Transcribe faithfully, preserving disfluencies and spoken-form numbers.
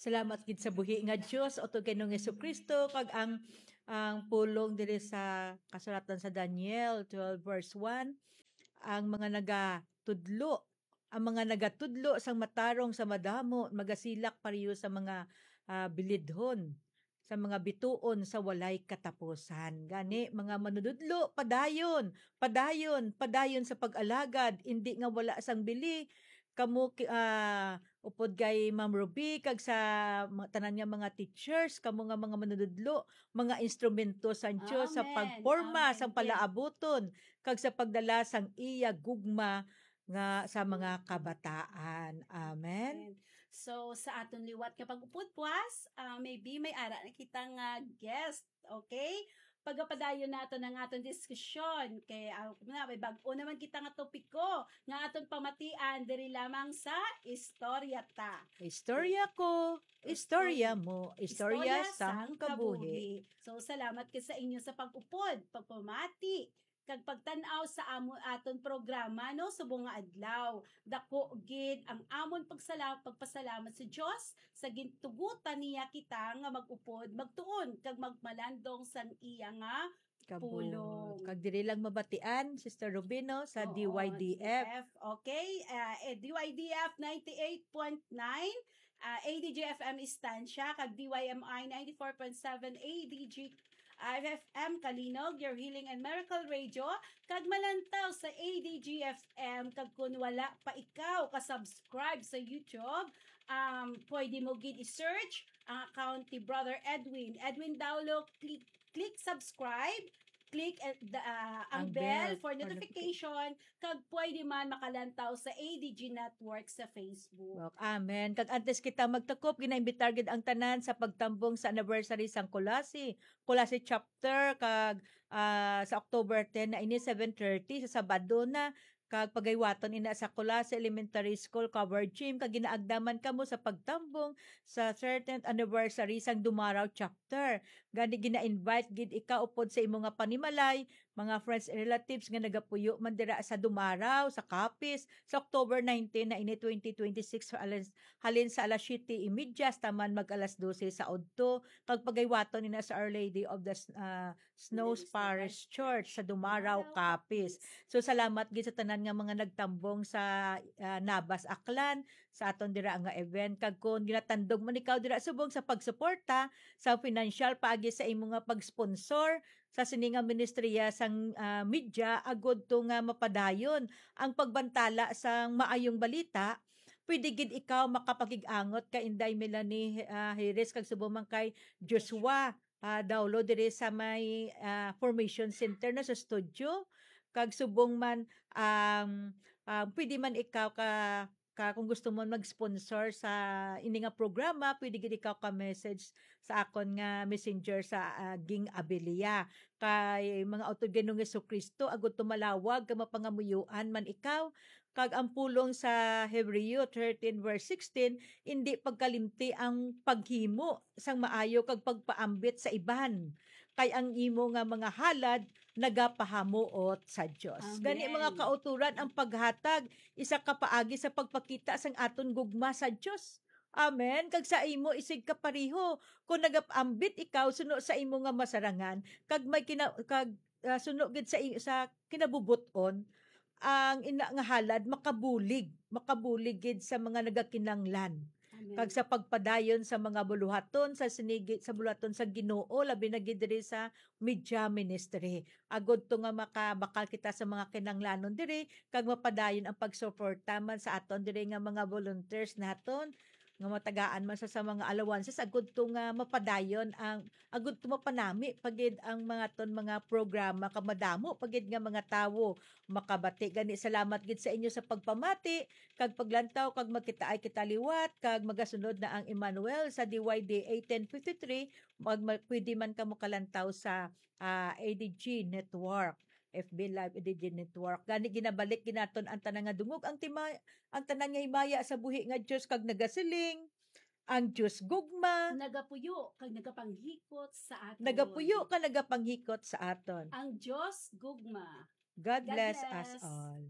Salamat gid sa buhi nga Dios, utod kay Ginoong Jesucristo, kag ang, ang pulong diri sa kasulatan sa Daniel twelve verse one, ang mga nagatudlo, ang mga nagatudlo sang matarong sa madamo, magasilak pareho sa mga, ah, bilidhon, sa mga bituon sa walay katapusan. Gani, mga manunudlo, padayon, padayon, padayon sa pag-alagad, indi nga wala sang bili. Kamo ki-, ah, upod kay Ma'am Ruby, kag sa mga, tanan nga mga teachers, kamo nga mga manunudlo, mga instrumento sang Dios sa Amen. pagporma Amen. sang Yes. palaabuton, kag sa pagdala sang iya gugma nga sa mga kabataan. Amen. Amen. So, sa aton liwat nga pag-upod, Pwas, ah, maybe may ara na kita nga guest, okay? Pagapadayon naton ang aton diskusyon kay, ah, na, may bag-o naman kita nga topiko nga aton pamatian diri lamang sa Istorya Ta. Istorya ko, istorya mo, istorya Istorya sang sang kabuhi. kabuhi. So, salamat kay sa inyo sa pag-upod, pagpamati, kag pagtan-aw sa amo aton programa, no, subong nga adlaw. Dako gid ang amon pagsala-, pagpasalamat sa Dios sa gintugutan niya kita nga mag-upod, magtuon, kag magmalandong sang iya nga Kabul. pulong. Kag diri lang mabatian, Sister Rubino, sa Oo, D Y D F. D F. Okay, ah, eh, D Y D F ninety-eight point nine, ah, A D G F M Estancia, kag D Y M I ninety-four point seven A D G F M Calinog, your healing and miracle radio, kag malantaw sa A D G F M, kag kun wala pa ikaw ka-subscribe sa YouTube, um, pwede mo gid i-search ang account ni Brother Edwin. Edwin Daulo, click, click subscribe, click, eh, the, ah, ang Ang bell bell for for notification. notification, kag pwede man makalantaw sa A D G Network sa Facebook. Amen. Kag antes kita magtakop, ginaimbitar gid ang tanan sa pagtambong sa anniversary sang Culasi, Culasi Chapter, kag, ah, sa October ten na ini, seven thirty, sa Sabado na, kag pagaywaton ina sa Culasi Elementary School Covered Gym, kag ginaagdaman kamo sa pagtambong sa thirteenth anniversary sang Dumaraw Chapter. Gani, gina-invite gid ikaw upod sa imo nga panimalay, mga friends and relatives nga nagapuyo man dira sa Dumaraw, sa Capiz, sa October nineteen na ini, twenty twenty-six, halin, halin sa alas siyete y media hasta man mag alas dose sa udto, kag pagaywaton ina sa Our Lady of the S-, ah, Snows Parish Church sa Dumaraw, Capiz. So, salamat gid sa tanan nga mga nagtambong sa, ah, Nabas, Aklan, sa aton dira nga event. Kag kon ginatandog man ikaw dira subong sa pagsuporta sa financial paagi sa imo nga pag-sponsor sa sini nga ministriya sang, ah, media, agud to nga mapadayon ang pagbantala sang maayong balita, pwede gid ikaw makapakig-angot kay Inday Melanie, ah, Jerez, kag subong man kay Joshua, ah, Daulo diri sa may, ah, Formation Center na sa studio. Kag subong man, um, ah, pwede man ikaw ka, ka, kung gusto mo mag-sponsor sa ini nga programa, pwede gid ikaw ka-message sa akon nga messenger sa, ah, Ging Abilia. Kay mga utod Ginoong Jesucristo, agud to malawag kag mapangamuyoan man ikaw, kag ang pulong sa Hebreo thirteen verse sixteen, indi pagkalimti ang paghimo sang maayo kag pagpaambit sa iban, kay ang imo nga mga halad nagapahamuot sa Dios. Gani, mga Amen. kauturan, ang paghatag isa ka paagi sa pagpakita sang aton gugma sa Dios. Amen. Kag sa imo isig kapareho, kung nagapaambit ikaw suno sa imo nga masarangan, kag may kina-, kag, ah, suno gid sa i-, sa kinabubot-on, ang ina nga halad makabulig, makabulig gid sa mga nagakinanglan. Amen. Kag sa pagpadayon sa mga buluhaton sa sinigi, sa buluhaton sa Ginoo, labi na gid diri sa media ministry. Agud to nga makabakal kita sa mga kinanglanon diri, kag mapadayon ang pagsuporta man sa aton diri nga mga volunteers naton, nga matagaan man sa, sa mga allowances, agud to nga mapadayon ang, agud to mapanami pa gid ang mga ton mga programa, kag madamo pa gid nga mga tawo makabati. Gani, salamat gid sa inyo sa pagpamati kag paglantaw, kag magkitaay kita liwat, kag magasunod na ang Emmanuel sa D Y D A ten fifty-three. Mag-, mag-, pwede man kamo kalantaw sa, ah, A D G Network, F B Live A D G Network. Gani, ginabalik gid naton ang tanan nga dungog, ang tima-, ang tanan nga himaya sa buhi nga Dios, kag nagasiling, ang Dios gugma. Nagapuyo kag nagapanghikot sa aton. Nagapuyo kag nagapanghikot sa aton. Ang Dios gugma. God God bless us bless. all.